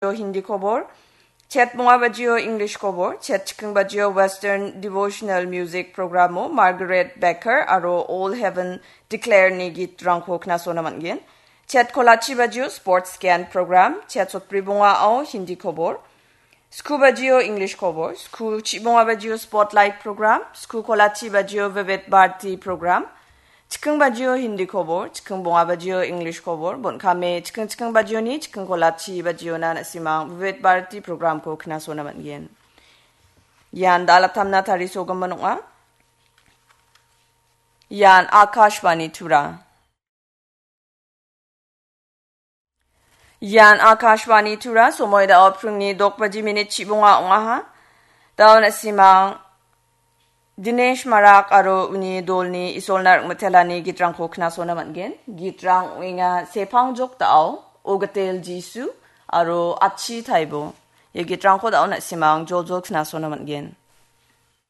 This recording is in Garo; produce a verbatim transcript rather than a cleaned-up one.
Hindi khobor, chet bonga bajio English khobor, chet chikking bajio Western Devotional Music Programo Margaret Becker aro All Heaven Declare ni gitrangko knasona man·gen. Chet kolachi bajio Sports Scan Program, chet sotbri bongao Hindi khobor, sku bajio English khobor, sku chibonga bajio Spotlight Program, sku kolachi bajio Vivid Bharati Program, chikking bajio Hindi khobor, chikking bonga bajio English khobor, bon·kame chikking chikking bajioni chikking kolachi bajiona na·simang Vivid Bharati Programko knasona man·gen. Ian dalatamna tarisogimin ong·a. Ian Akashvani Tura. Ian Akashvani Tura, somoi dao pringni dok baji minit chibonga ong·aha. Dao na·simang Dinesh Marak aro uni dolni Isolna ringmitelani gitrangko knasona man·gen. Gitrang ong·enga Sepangjok Dao, Ogatel Jisu aro Achi Taibo. Ia gitrangko dao na·simang joljol knasona man·gen.